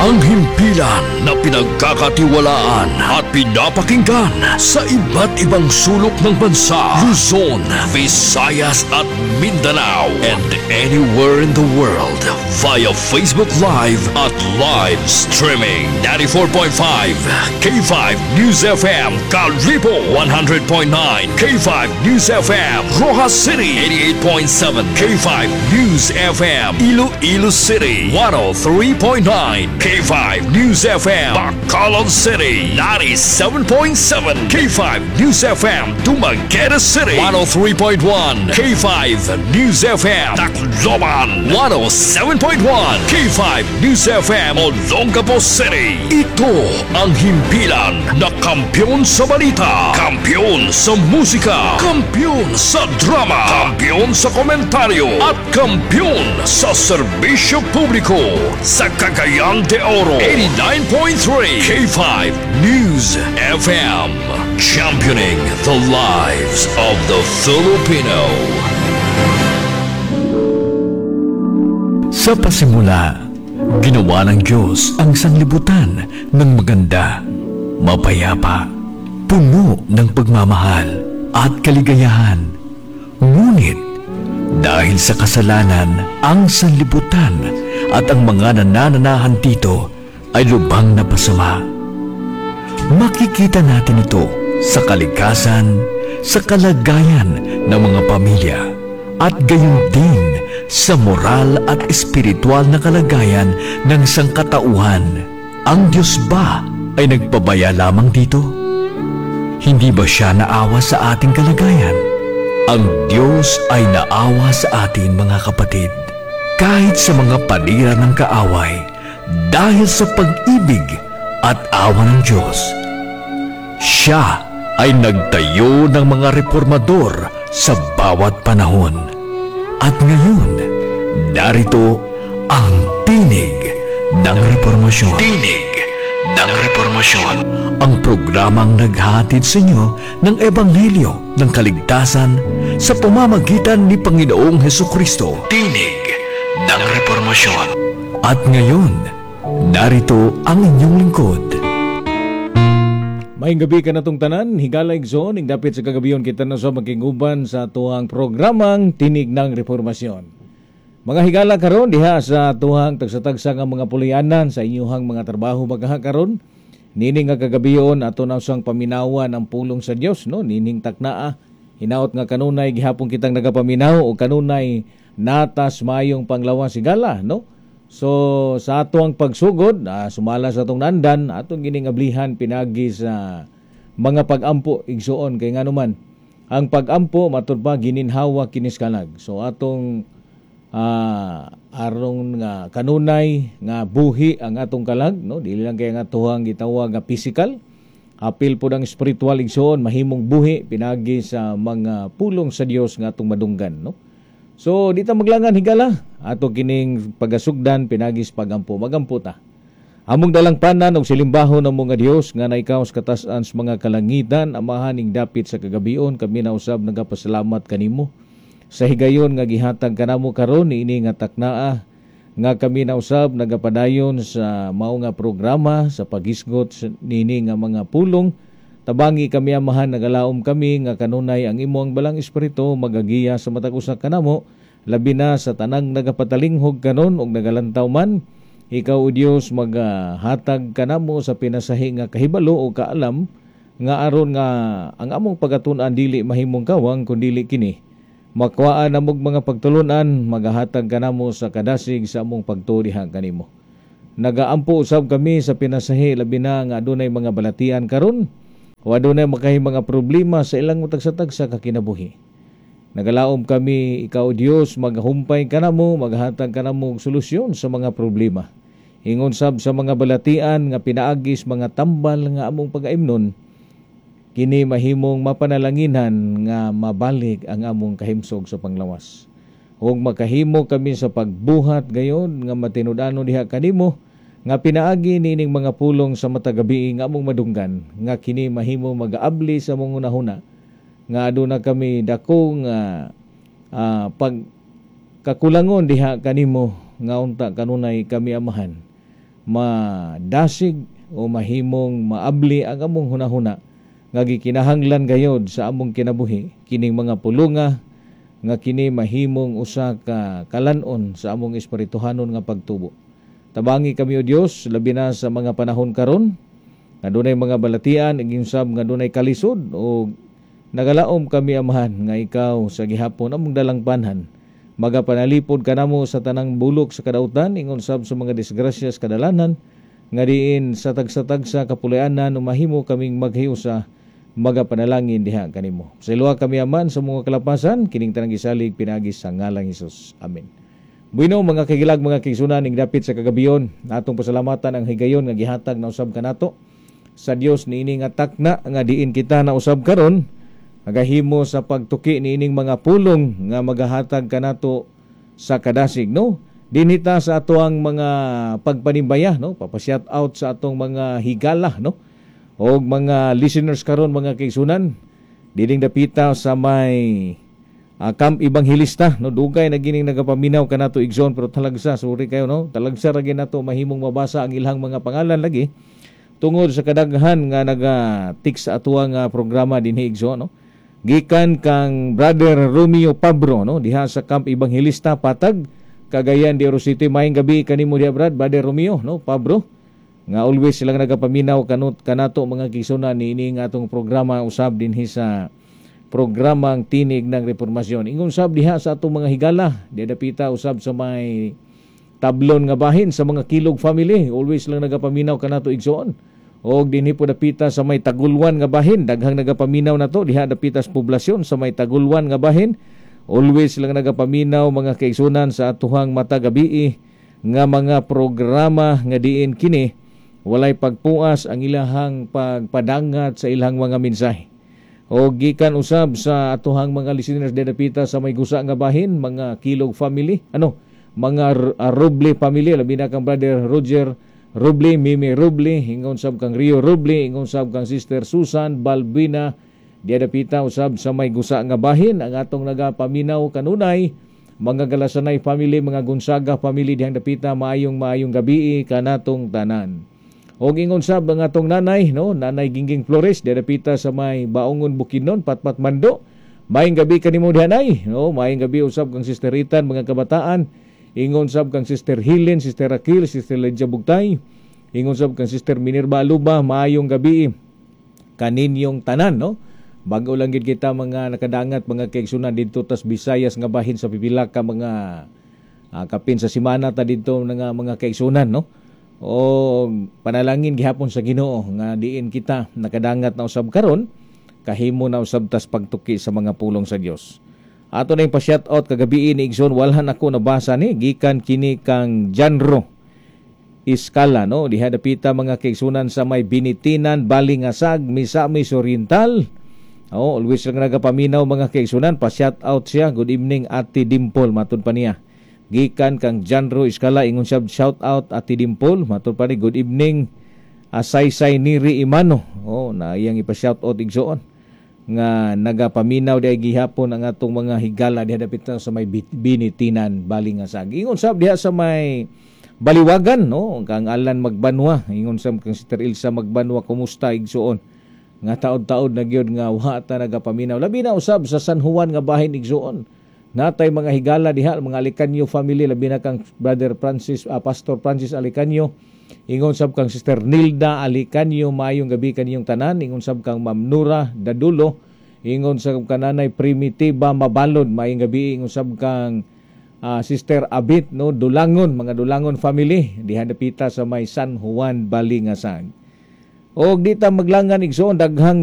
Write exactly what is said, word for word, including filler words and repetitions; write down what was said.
Ang himpilan na pinagkakatiwalaan at pinapakinggan sa iba't ibang sulok ng bansa, Luzon, Visayas at Mindanao, and anywhere in the world via Facebook Live at live streaming. ninety-four point five K five News F M Kalibo, one hundred point nine K five News F M Roxas City, eighty-eight point seven K five News F M Iloilo City, one oh three point nine K five News F M Bacolod City, ninety-seven point seven K five News F M Dumaguete City, one oh three point one K five News F M Tacloban, one oh seven point one K five News F M Olongapo City. Ito ang himpilan na kampiyon sa balita, kampiyon sa musika, kampiyon sa drama, kampiyon sa komentaryo, at kampiyon sa serbisyo publiko sa Cagayan de Oro. eighty-nine point three K five News F M, championing the lives of the Filipino. Sa pasimula, ginawa ng Diyos ang sanglibutan ng maganda, mapayapa, puno ng pagmamahal at kaligayahan. Ngunit, dahil sa kasalanan, ang sanlibutan at ang mga nanananahan dito ay lubhang napasama. Makikita natin ito sa kalikasan, sa kalagayan ng mga pamilya, at gayon din sa moral at espiritual na kalagayan ng sangkatauhan. Ang Diyos ba ay nagpabaya lamang dito? Hindi ba siya naawa sa ating kalagayan? Ang Diyos ay naawa sa atin, mga kapatid. Kahit sa mga panira ng kaaway, dahil sa pag-ibig at awa ng Diyos, siya ay nagtayo ng mga reformador sa bawat panahon. At ngayon, narito ang Tinig ng Reformasyon. Tinig ng Reformasyon. Ang programang naghatid sa inyo ng Ebanghelyo ng kaligtasan sa pamamagitan ni Panginoong Heso Kristo. Tinig ng Reformasyon. At ngayon, narito ang inyong lingkod. Maayong gabii kanatong tanan, higala, igsoon, ing dapit sa kagabion kita na sa magkinguban sa atuang programang Tinig ng Reformasyon. Mga higala, karon diha sa atuang tagsa-tagsa nga mga puloy-anan, sa inyuhang mga trabaho magaha karon. Nining nga kagabion, ato na usang paminawan ang pulong sa Dios, no? Nining taknaa, hinaot nga kanunay gihapon kitang nagapaminaw o kanunay natas mayong panglawas, higala, no? So sa ato ang pagsugod, ah, sumala sa atong nandan, atong gining ablihan pinagi sa mga pagampo, igsuon, kay nganuman ang pagampo, matud pa, gininhawa kinis kalag. So atong ah, aron nga kanunay nga buhi ang atong kalag, no? Dili lang kay nga atuhang gitawag nga physical, apil po ang spiritual, igsuon, mahimong buhi pinagi sa mga pulong sa Dios nga atong madunggan, no? So di ta maglangan, higala, ato kining pagasugdan pinagis pagampo. Magampo ta. Among dalangpanan og silimbahon ng mga Dios nga naikaw sa katasan sa mga kalangitan, Amahan, ing dapit sa kagabion kami na usab nagapasalamat kanimo sa higayon nga gihatag kanamo karon niini nga taknaa nga kami na usab nagapadayon sa mao nga programa sa paghisgot niini nga mga pulong. Tabangi kami, Amahan, nagalaom kami nga kanunay ang imong balang espiritu magagiya sa matag usa kanamo, labi na sa tanang nagapatalinghog karon og nagalantaw man. Ikaw, O Dios, magahatag kanamo sa pinasahi nga kahibalo o kaalam nga aron nga ang among pagkatun-an dili mahimong kawang, kundili kini makuhaan namog mga pagtulunan, magahatag kanamo sa kadasig sa among pagtuo diha kanimo. Nagaampo usab kami sa pinasahi, labi na nga adunay mga balatian karon o adunay makahi mga problema sa ilang tagsa-tagsa ka kinabuhi. Nagalaom kami, ikaw, Dios, maghumpay kanamo, maghatag kanamo og solusyon sa mga problema. Ingon sab sa mga balatian nga pinaagis mga tambal nga among pagaimnon, kini mahimong mapanalanginan nga mabalik ang among kahimsog sa panglawas. Ug makahimo kami sa pagbuhat gayon nga matinud-anon diha kanimo nga pinaagi niining mga pulong sa matag gabi nga among madunggan, nga kini mahimo magaabli sa among hunahuna nga aduna kami dako nga uh, pag kakulangon diha kanimo nga unta kanunay kami, Amahan, Madasig o mahimong maabli ang among hunahuna nga gikinahanglan gayod sa among kinabuhi kining mga pulunga nga kini mahimong usa ka kalan-on sa among espirituhanon nga pagtubo. Tabangi kami, O Dios, labi na sa mga panahon karon nga dunay mga balatian, usab nga dunay kalisod, o nagalaom kami, Amahan, nga ikaw sa gihapon among dalangpanhan. Magapanalipod kanamo sa tanang bulok sa kadautan, ingon sab sa mga disgrasya sa kadalanan, nga diin sa tagsa-tagsa kapulayanan mahimo kaming maghiusa, magapanalangin diha kanimo. Pasayloa kami, Aman, sa mga kalapasan, kining tanang gisalig pinaagi sa ngalang Hesus. Amen. Bueno, mga kahigalag, mga kaigsunan, ing dapit sa kagabion, atong pasalamatan ang higayon nga gihatag na usab kanato sa Dios niini nga takna nga diin kita na usab karon nagahimo sa pagtuki niining mga pulong nga magahatag kanato sa kadasig, no? Dinhi ta sa atoang mga pagpanimbaya, no, papa-shout out sa atong mga higala, no, og mga listeners karon, mga kaigsunan, dining dapita sa may uh, Camp Evangelista, no. Dugay na gining nagapaminaw kanato, igsoon, pero talagsa, sorry kayo, no, talagsa ra nato mahimong mabasa ang ilang mga pangalan lagi tungod sa kadaghan nga naga-tik sa atuang nga programa dinhi, igsoon, no. Gikan kang Brother Romeo Pabro, no, diha sa Camp Evangelista, Patag, Cagayan de Oro City. Maayong gabi kanimo diha, Brad, Brother Romeo, no, Pabro, nga always silang nagapaminaw kanut kanato, mga kaigsunan, niini nga atong programa usab dinhi sa programang Tinig ng Reformasyon. Ingon sab diha sa atong mga higala, diha dapita usab sa may Tablon nga bahin sa mga Kilog family, always lang nagapaminaw kanato, igsoon. Og dinhi po dapita sa may Tagulwan nga bahin, daghang nagapaminaw nato diha dapita sa poblasyon sa may Tagulwan nga bahin. Always lang nagapaminaw, mga kaigsunan, sa atuhang matag gabii nga mga programa nga diin kini walay pagpuas ang ilahang pagpadangat sa ilang mga mensahe. O gikan usab sa atuhang mga listeners dapita sa may Gusa nga bahin, mga Kilog family, ano, mga Roble family, labi na kang Brother Roger Roble, Mimi Roble, ingon sab kang Rio Roble, ingon sab kang Sister Susan Balbina, diya dapita usab sa may Gusa nga bahin, ang atong nagapaminaw kanunay, mga Galasanay family, mga Gonzaga family dihang dapita, maayong maayong gabi kanatong tanan. Og ingon sab ang atong nanay, no, Nanay Gingging Flores, diya dapita sa may Baungon Bukidnon, Patpat Mando. Maayong gabi kanimo diha, nay, no, maayong gabi usab kang Sister Ritan, mga kabataan. Ingon sab kang Sister Helen, Sister Raquel, Sister Lydia Bugtay. Ingon sab kang Sister Minerva Aluba, maayong gabi kaninyong tanan, no? Bago lang gid kita mga nakadangat, mga kaigsunan, didto tas Visayas nga bahin sa pipila ka mga uh, kapin sa simana ta didto nga mga kaigsunan, no? O panalangin gihapon sa Ginoo nga diin kita nakadangat na usab karon, kahimo na usab tas pagtuki sa mga pulong sa Dios. Ato na yung pa-shout out kagabi ni igsoon, walhan ako nabasa ni, gikan kini kang Janro Iskala, no, diha dapita, mga kaigsunan, sa may Binitinan, Balingasag, Misamis Oriental. Oh, always lang nagapaminaw, mga kaigsunan, pa-shout out siya. "Good evening, Ate Dimple," matud pa niya. Gikan kang Janro Iskala, ingon siya, "Shout out, Ate Dimple," matud pa ni, "Good evening, Asaysay Niri Imano." Oh, na iyang ipa-shout out, igsoon, nga nagapaminaw di gihapon ang atong mga higala diha dapit sa may Binitinan, Balingasag. Ingon sab diha sa may Baliwagan, no, kang Alan Magbanwa, ingon sab kang Sister Ilsa Magbanwa, kumusta, igsoon, nga taod-taod na gyud nga wa ta nagapaminaw. Labi na usab sa San Juan nga bahin, igsoon. Natay mga higala diha, mga Alicanyo family, labi na kang Brother Francis, uh, Pastor Francis Alicanyo. Ingon sab kang Sister Nilda Alicanyo, maayong gabi kaniyong tanan. Ingon sab kang Ma'am Nura Dadulo. Ingon sab kananay Primitiva Mabalod, maayong gabi. Ingon sab kang uh, Sister Abit, no, Dulangon, mga Dulangon family diha dapita sa may San Juan, Balingasag. Og di ta maglangan, igsoon, daghang